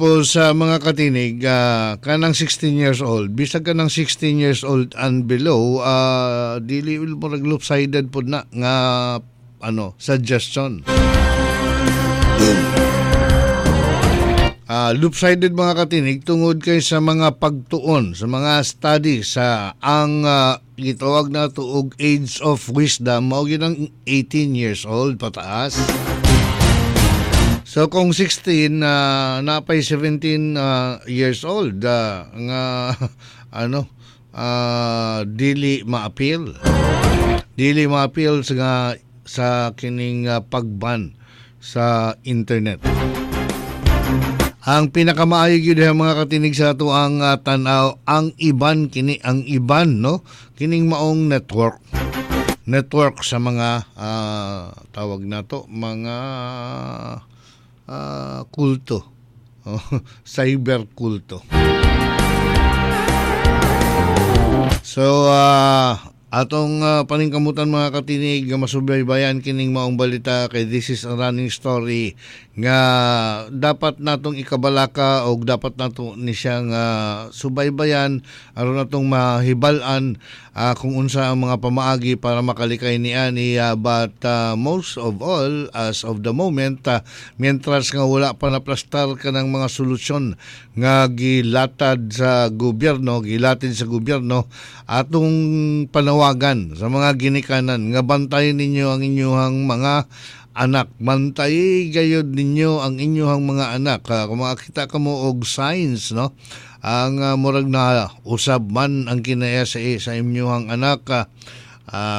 Tapos sa mga katinig, kanang 16 years old, bisag kanang 16 years old and below, dili murag lopsided pod na nga ano suggestion. Lopsided mga katinig tungod kay sa mga pagtuon, sa mga study sa ang gitawag nato og age of wisdom mao gyud ang 18 years old pataas. So kung 16 napay 17 years old nga ano dili maapil. Dili maapil sa sa kining pagban sa internet. Ang pinakamaayo gyud mga katinig sa ato ang tan-aw ang iban kini ang iban no kining maong network sa mga tawag nato mga kulto, cyber kulto. So atong paningkamutan mga katinig masubaybayan kining maong balita kay this is a running story nga dapat natong ikabalaka og dapat nato ni siyang subaybayan aron natong mahibal-an kung unsa ang mga pamaagi para makalikay niani, but most of all as of the moment, mientras nga wala pa naplastar kanang mga solusyon nga gilatad sa gobyerno, gilatid sa gobyerno, atong panawagan sa mga ginikanan nga bantayan ninyo ang inyong mga anak, bantay gayud ninyo ang inyong mga anak. Kung makakita ka mo og signs no ang murag na usab man ang kinaya sa inyong anak,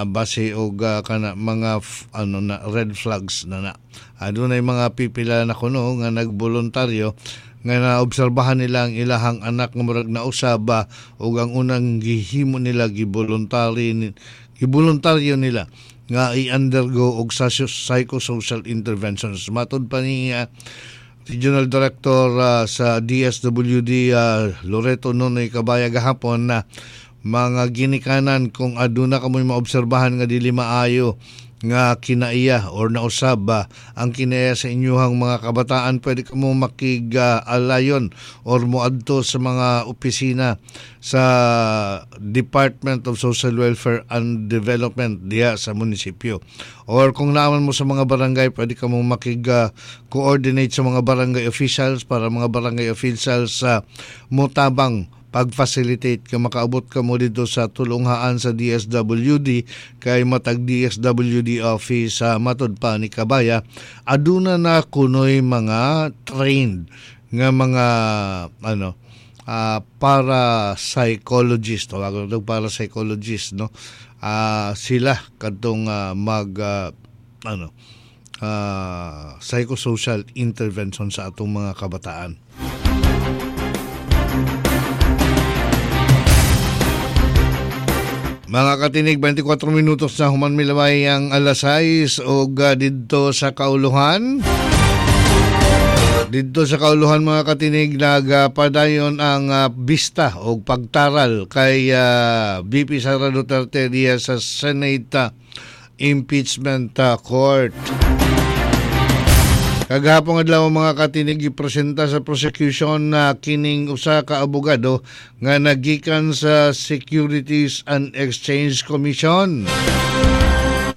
base og kana mga ano na red flags na na. Adunay mga pipila na kuno nga nagboluntaryo nga naobserbahan nila ang ilahang anak nga murag nausab, ug ang unang gihimo nila giboluntaryo nila nga i-undergo og psychosocial interventions. Matod pa ni Regional Director sa DSWD Loreto Nonoy Cabaya gahapon na mga ginikanan kung aduna kamoy maobserbahan nga dili maayo nga kinaiya or nausab ang kinaiya sa inyuhang mga kabataan, pwede kamo makig-alayon or moadto sa mga opisina sa Department of Social Welfare and Development diha sa munisipyo. Or kung naaman mo sa mga barangay, pwede kamo makig-coordinate sa mga barangay officials para mga barangay officials sa motabang pag-facilitate ka makaabot ka mo dito sa tulunghaan sa DSWD kay matag DSWD office sa matod pa ni Cabaya aduna na kunoy mga trained nga mga ano para psychologist, tawagan to para psychologist no, sila kadtong mag psychosocial intervention sa atong mga kabataan. Mga katinig, 24 minutos na human milaway ang alas 6 og didto sa kauluhan. Didto sa kauluhan mga katinig, nagpadayon ang bista og pagtaral kay VP Sara Duterte diya sa Senate Impeachment Court. Kagahapon adlaw mga katinig, gipresenta sa prosecution na kining usa ka abogado nga nagikan sa Securities and Exchange Commission.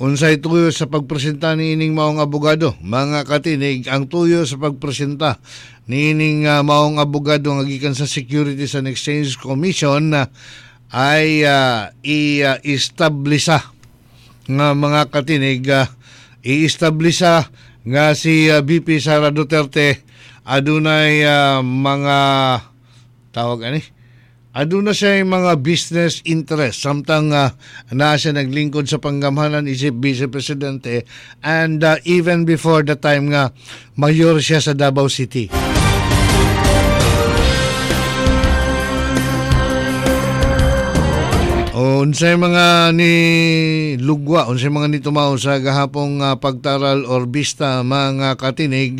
Unsay tuyo sa pagpresenta niining maong abogado? Mga katinig, ang tuyo sa pagpresenta niining maong abogado nga gikan sa Securities and Exchange Commission ay i-establisa nga mga katinig, i-establisa nga si VP Sara Duterte adunay mga tawag ani aduna siya mga business interest samtang naa siya naglingkod sa panggamhanan isip vice presidente and even before the time nga mayor siya sa Davao City. Unsay mga ni lugwa, unsay mga nitumaw sa gahapong pagtaral or bista mga katinig,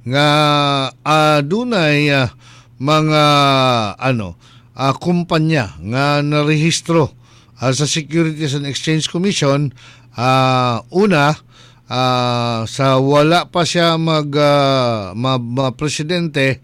nga adunay mga kumpanya nga narehistro sa Securities and Exchange Commission. Una, sa wala pa siya mag presidente,